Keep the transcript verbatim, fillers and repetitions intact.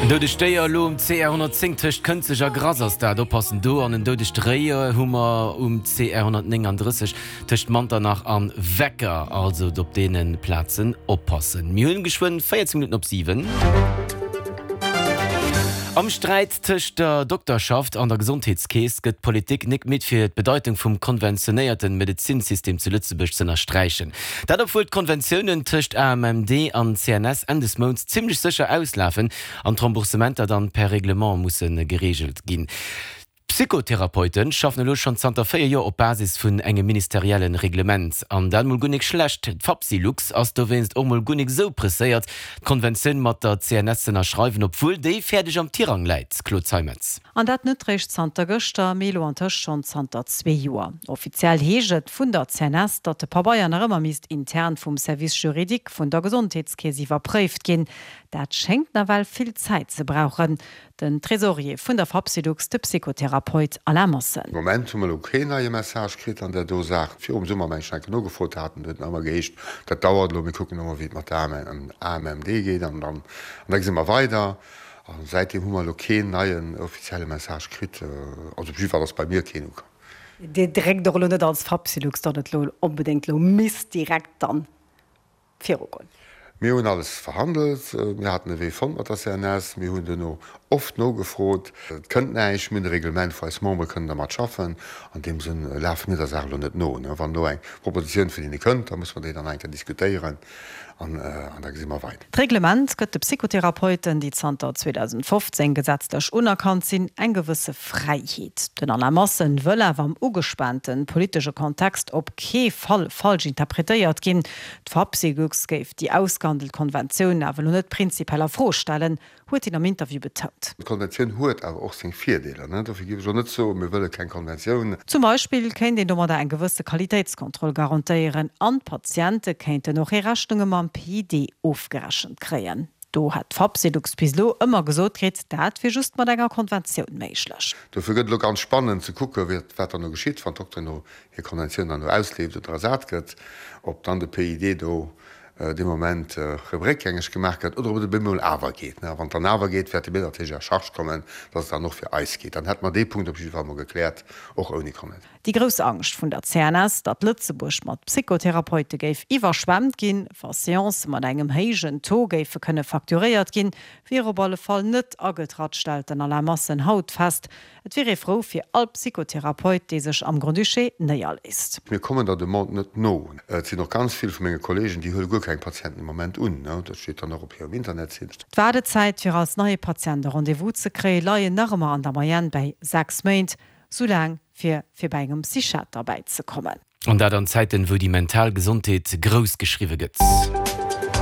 En doudegt Déier elo um C R honnertzéng tëscht Kënzeg a Grass ass dat. Oppassen do. An en doudegt Réi hu mer um C R honnertnénganddrësseg tëscht Manternach an Wecker. Also op deene Plazen oppassen. Mir hunn geschwënn véierzéng Minutten op siwen. Am Sträit tëscht der Dokterschaft an der Gesondheetskeess gëtt d'Politik nik midd fir d'Bedeitung vum konventionéierte Medezinsystem zu Lëtzebuerg z'ënnersträichen. Dat obwuel d'Konventiounen tëscht A M M D an C N S Enn des Mounts zimmlech sécher auslafen an d'Remboursementer dann per Reglement musse gereegelt ginn. D'Psychotherapeute schaffen elo schonn zanter véier Joer op Basis vun engem ministerielle Reglement. An dat mol guer nik schlecht. D'Fapsylux ass dowéinst och mol guer nik esou presséiert, d'Konventioun mat der C N S z'ënnerschreiwen, obwuel déi fäerdeg am Tirang läit. Claude Zeimetz. An dat net réischt zanter gëschter, mee elo antëscht schonn zanter zwee Joer. Offiziell heescht et vun der C N S, datt de Pabeier nach ëmmer misst intern vum Service juridique vun der Gesondheetskeess iwwerpréift ginn. Dat schéngt nawell vill Zäit ze brauchen. Den Tresorier vun der Fapsylux, de Psychotherapeut Alain Massen. Am Moment hu mer elo keen neie Message kritt an där do Saach. Virum Summer, mengen ech, enke nogefrot haten, huet nach ëmmer geheescht, dat dauert elo, mir kucken elo mol, wéi et mat der A M M D geet an dann an da gesi mer weider. A säitdeem hu mer elo keen neien offizielle Message kritt, also op jidde Fall ass bei mir keen ukomm. Dir dréckt och elo net als Fapsylux, datt et elo onbedéngt elo misst direkt dann virugoen? Mir hunn alles verhandelt, mir haten e Wee fonnt mat der C N S, mir hunn duerno oft nogefrot, et kënnt näischt, mir hunn e Reglement, wou eis Membere kënnen dermat schaffen. An deem Sënn lafe mir der Saach elo net no. Wann elo eng Propositioun vun hinne kënnt, da muss mer déi dann eng Kéier diskutéieren an da gesi mer weider. D'Reglement gëtt de Psychotherapeuten, déi zanter zweedausendfofzéng gesetzlech unerkannt sinn, eng gewësse Fräiheet. Den Alain Massen wëll awer am ugespaante politesche Kontext op kee Fall falsch interpretéiert ginn. D'Fapsylux géif déi ausgehandelt Konventioun awer elo net prinzipiell a Fro stellen, huet hien am Interview betount. D'Konventioun huet awer och seng Virdeeler. Dofir géif ech och net soen, mir wëlle keng Konventioun. Zum Beispill kéint een domadder eng gewësse Qualitéitskontroll garantéieren an d'Patiente kéinten och hir Rechnunge mam P I D ofgerechent kréien. Do hätt d'Fapsylux bis elo ëmmer gesot kritt, dat wier just mat enger Konventioun méiglech. Dofir gëtt et elo ganz spannend ze kucken, wat dann elo geschitt, wann d'Dokteren elo hir Konventioun dann elo ausleeft oder ersat gëtt, ob dann de P I D do dee Moment erëm réckgängeg gemaach gëtt oder ob et op eemol awer geet. A wann et dann awer geet, wäerte mir natierlech à charge kommen, datt et dann och fir eis geet. Dann hätte mer dee Punkt op jidde Fall mol gekläert, och ouni Konventioun. Déi grouss Angscht vun der C N S, datt Lëtzebuerg mat Psychotherapeute géif iwwerschwemmt ginn, wa Seancë mat engem héijen Taux géife kënne facturéiert ginn, wier op alle Fall net agetratt, stellt den Alain Massen haut fest. Et wier ee frou fir all Psychotherapeut, dee sech am Grand-Duché néierléisst. Mir kommen der Demande net no. Et sinn och ganz vill vu menge Kolleegen, déi huele guer keng Patienten de Moment un. Dat steet dann och op hirem Internetsite. D'Waardezäit fir als neie Patient e Rendez-vous ze kréien, leien nach ëmmer an der Moyenne bäi sechs Méint, sou laang fir fir bei engem Psychiater bäizekommen. An dat an Zäiten, wou déi mental Gesondheet grouss geschriwwe gëtt.